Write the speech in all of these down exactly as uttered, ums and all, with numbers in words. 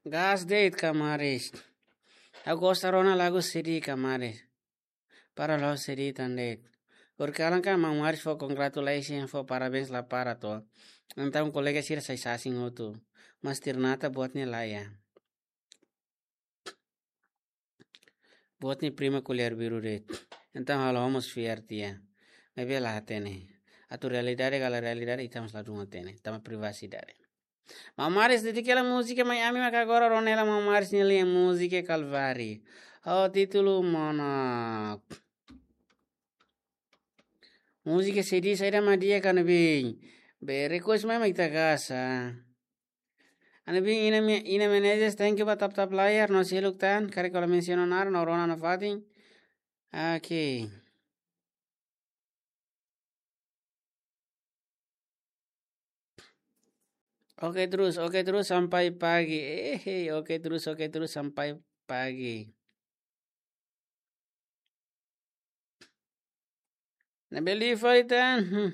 Gas de'it, kamaris. Ha'u gosta rona lagu sedih, kamaris. Para la'ós sedih tan de'it. Horikalan kan maun Maris fó congratulations, fó parabéns la para to. Entaun kolega sira sai sasin hotu. Mas Tirnata buat ne'e laiha. Buat nia prima ko'alia biru de'it. Entaun halo homos fiar tiha. Maibé la hatene. Atu realidade ka la realidade ita mós ladún hatene. Tanba privasidade. Maun Maris, dedika hela múzika mai ami maka agora rona hela maun Maris nia lian múzika Kalvari. Ho títulu Monok. Múzika sedih saida mak di'ak, Anubin? Be request mai mak ita gasa. Anubin, Ina Me-, Ina Menezes, thank you ba tap-tap layar, no seluk tan, karik kola mensiona naran, no rona nafatin. Oke. Oke terus, oke terus sampai pagi. Eh, hei, oke terus, oke terus sampai pagi. Ne'ebé liu fali tan. Hmm.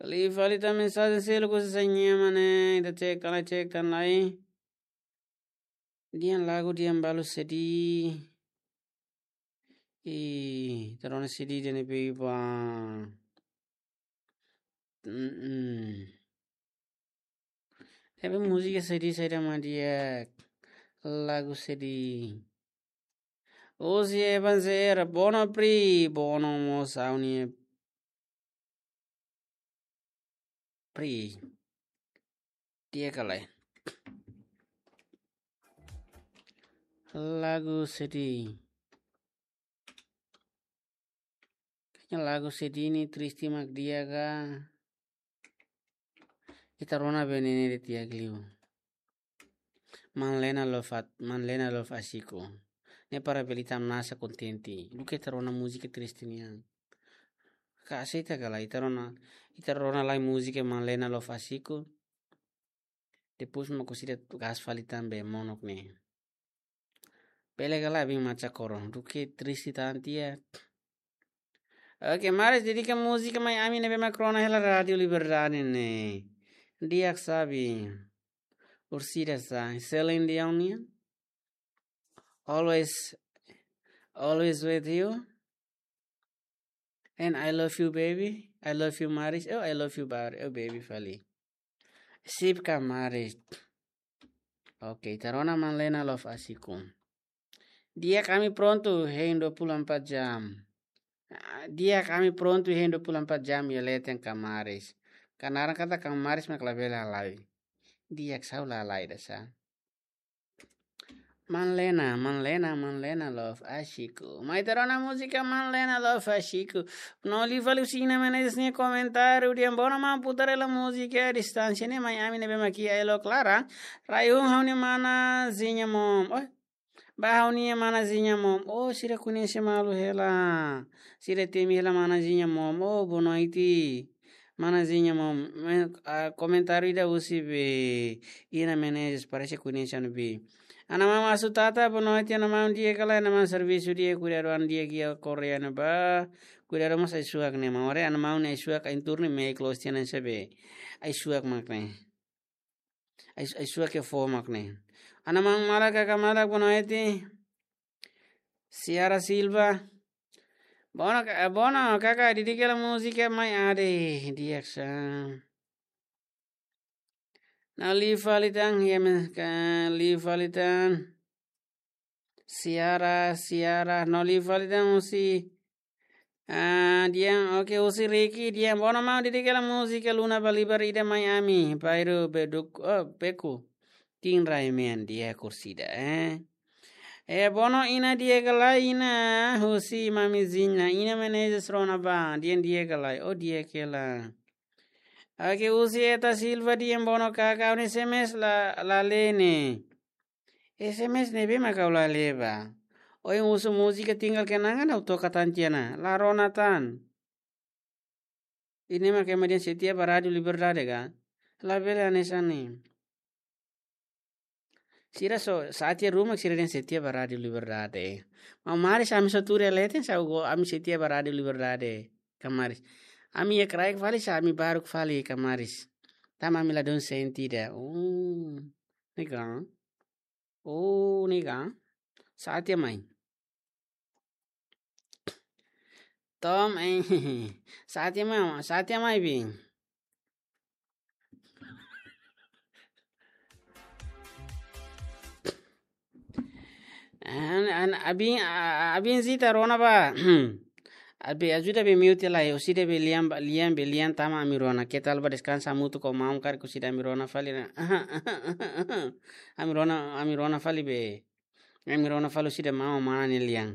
Liu fali tan mensajen seluk husi Sanyia mane, ita cek tan lai, cek tan lai. Dehan lagu dehan balu sedih. Ih, ita rona sedih dehan ne'ebé ba. Mm-mm. Tapi múzika sedih saida mak di'ak, lagu sedih. Husi Evan Zera, bono pri, bono mós ha'u-nia pri. Di'ak ka lae. Lagu sedih. Kayaknya lagu sedih ne'e triste mak di'ak ka. Ita rona be ne'e ne'e de'it di'ak liu. Manlena Love at-, Manlena Love Asiku. Ne'e para bele ita hamnasa kontente. Duké ita rona múzika triste nian. Ka aseita ka lae, ita rona, ita rona lai múzika Manlena Love Asiku. Depois mak husi ida gas fali tan be Monok ne'e. Bele ka lae, bin macha koro. Duké triste tan tiha. Oke, Maris, dedika múzika mai ami ne'ebé mak rona hela Rádiu Liberdade ne'e. Di'ak sabi. Ursida sa, Celine Dion nian. Always, always with you. And I love you, baby. I love you, Maris. Oh, I love you, bar-, oh, baby, fali. Sip ka, Maris. Oke, ita rona Manlena Love Asiku. Di'ak, ami prontu hein dua puluh empat jam. Ah, di'ak, ami prontu hein dua puluh empat jam iha leten kamaris. Kanaran katak kamaris mak labele halai. Di'ak, sa'e la halai ida sa. Manlena, Manlena, Manlena Love Asiku. Mai ita rona múzika Manlena Love Asiku. No liu fali husi Ina Menezes nia komentáriu dehan bono maun putar hela múzika Distánsia ne'e mai ami ne'ebé mak iha Elo Klara. Rai hun ha'u-nia mana Zinha Mom. Oh, ba ha'u-nia mana Zinha Mom. Oh, sira koñese malu hela. Sira temi hela mana Zinha Mom. Oh, boa noite. Mana Zinha Mom. Me-, ah, komentáriu ida husi be Ina Menezes, parese koñese ona be. Ana maun Asu Tata, boa noite, ana maun, di'ak ka lae, ana maun, servisu di'ak, kuidadu an di'ak iha Korea ne'ebá. Kuidadu mós ai-suak ne'e, maun haree, ana maun nia ai-suak, ai-tuur ne'e, meik loos tiha ona sabe. Ai-suak mak ne'e. Ai-, ai-suak ke fo mak ne'e. Ana maun malak, kaka malak, boa noite. Ciara Silva. Bono ka-, bono, kaka, dedika hela múzika mai ade, di'ak sa. No liu fali tan, ya me, ka, liu fali tan. Ciara, Ciara, no liu fali tan husi. Ah, dehan, oke, husi Ricky, dehan bono maun dedika hela múzika Luna Balibar ida mai ami, Pairu Beduk, oh, Beku. Tin rai mean di'ak Ursida, eh. Eh, bono Ina, di'ak ka lae Ina, husi Mami Zinha, Ina Menezes rona ba, dehan di'ak ka lae, oh, di'ak hela. Oke, husi Eta Silva dehan bono kaka, ha'u-nia S M S la, la lee ne'e. S M S ne'ebé mak ha'u la lee ba. Ohin husu múzika Tinggal Kenangan ha'u toka tan tiha ona, la rona tan. Ida-ne'e mak ema dehan setia ba Rádiu Liberdade ka? Labele hanesan ne'e. Sira só, sá tiha ruma sira dehan setia ba Rádiu Liberdade. Maun Maris, ami só tuur iha leten, sá go, ami setia ba Rádiu Liberdade. Kamaris. Ami iha kraik fali, sá ami baruk fali kamaris. Tanba ami ladún sente ida. Oh, ne'e ka? Oh, ne'e ka? Sá tiha mai. Tom, eh, sá tiha mai, sá tiha mai, bin. An, an, abin, a, a, abin zita rona ba. Abi ajuda be miu tiha lai, orsida be lian ba, lian be lian tanba ami rona. Ketal ba deskansa hamutuk ho maun karik orsida ami rona fali na. Ami rona, ami rona fali be. Ami rona fali orsida maun mana nia lian.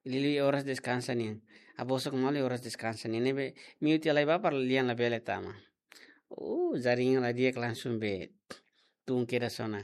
Liuliu oras deskansa nian. Abosok malu oras deskansa nian. Ne'ebé miu tiha lai ba para lian labele tama. Uh, jaringan la di'ak langsung be tun kedas ona.